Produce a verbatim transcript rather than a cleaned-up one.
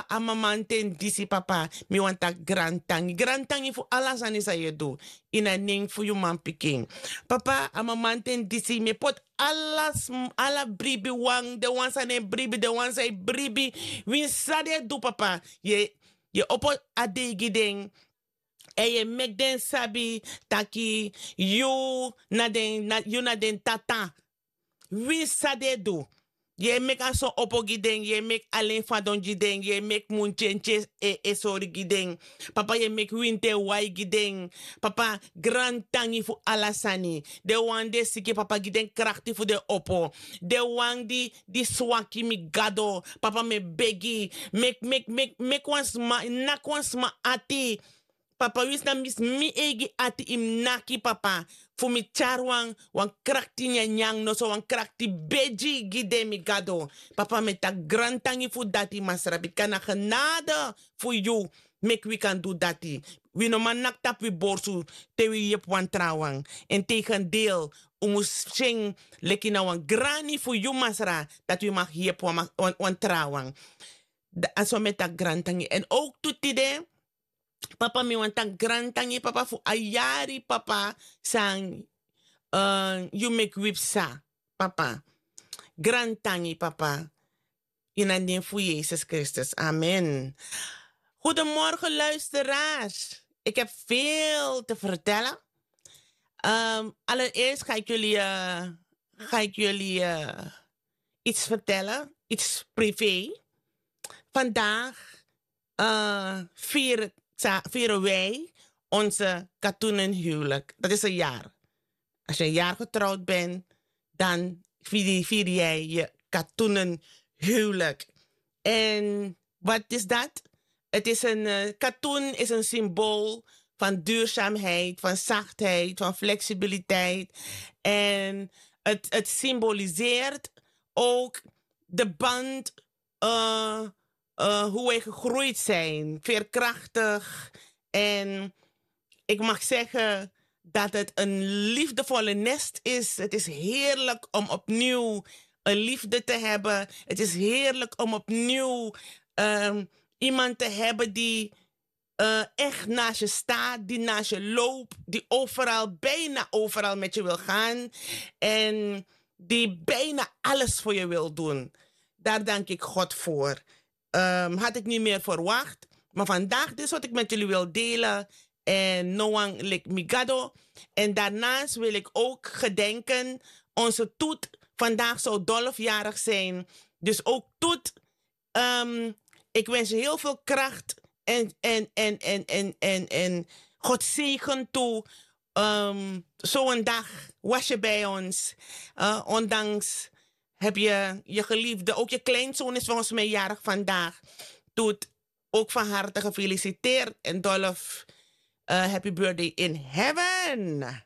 A mamanten disi papa, mi wani taki grantangi grantangi fu ala sani san yu e du. Ini a nen fu yu manpikin. Papa, a mamanten disi mi e poti ala bribi wan, den wan san no e bribi, den wan san e bribi, winsi san den e du papa, yu e opo a dei gi den. Èn yu e meki den sabi taki yu na den tata. Winsi san den e du, yu e meki a son opo gi den, yu e meki alen fadon gi den, yu e meki muntyentye e sori gi den. Papa, yu e meki winti e wai gi den. Papa, grantangi fu ala sani. Den wan di e siki, papa, gi den krakti fu den opo. Den wan di swaki, mi gado, papa, mi e begi, meki meki meki meki wan sma naki wan sma ati. Papa, winsi na mi eigi ati yu mus naki, papa, fu mi tyari wan krakti nyanyan noso, wan krakti begi gi den, mi gado. Papa, mi e taki grantangi fu dati, masra, bika na genade fu yu meki wi kan du dati. Wi no man naki tapu wi borsu te wi yepi wan trawan. Èn tegendeel, un mus si en leki na wan grani fu yu, masra, dati wi mag yepi wan trawan. A so mi e taki grantangi. Èn owk tu tide, papa, mi wani taki grantangi, papa, fu a yari, papa, san yu meki wi psa, papa. Grantangi, papa. Ini a nen fu Yesus Kristus, amen. Goedemorgen, luisteraars. Ik heb veel te vertellen. Allereerst ga ik jullie, ga ik jullie iets vertellen, iets privé. Vandaag vieren, vieren wij onze katoenen huwelijk. Dat is een jaar. Als je een jaar getrouwd bent, dan vier, vier jij je katoenen huwelijk. En wat is dat? Het is een uh, katoen is een symbool van duurzaamheid, van zachtheid, van flexibiliteit. En het, het symboliseert ook de band, uh, uh, hoe wij gegroeid zijn, veerkrachtig. En ik mag zeggen dat het een liefdevolle nest is. Het is heerlijk om opnieuw een liefde te hebben. Het is heerlijk om opnieuw um, iemand te hebben die uh, echt naast je staat, die naast je loopt, die overal, bijna overal met je wil gaan. En die bijna alles voor je wil doen. Daar dank ik God voor. Um, had ik niet meer verwacht. Maar vandaag, dit is wat ik met jullie wil delen. En no one lik mi gado. En daarnaast wil ik ook gedenken, onze Toet. Vandaag zou Dolfjarig zijn. Dus ook Toet, um, ik wens je heel veel kracht en, en, en, en, en, en, en God zegen toe. Um, Zo'n dag was je bij ons. Uh, ondanks heb je je geliefde, ook je kleinzoon is volgens mij jarig vandaag. Toet, ook van harte gefeliciteerd. En Dolf, uh, happy birthday in heaven.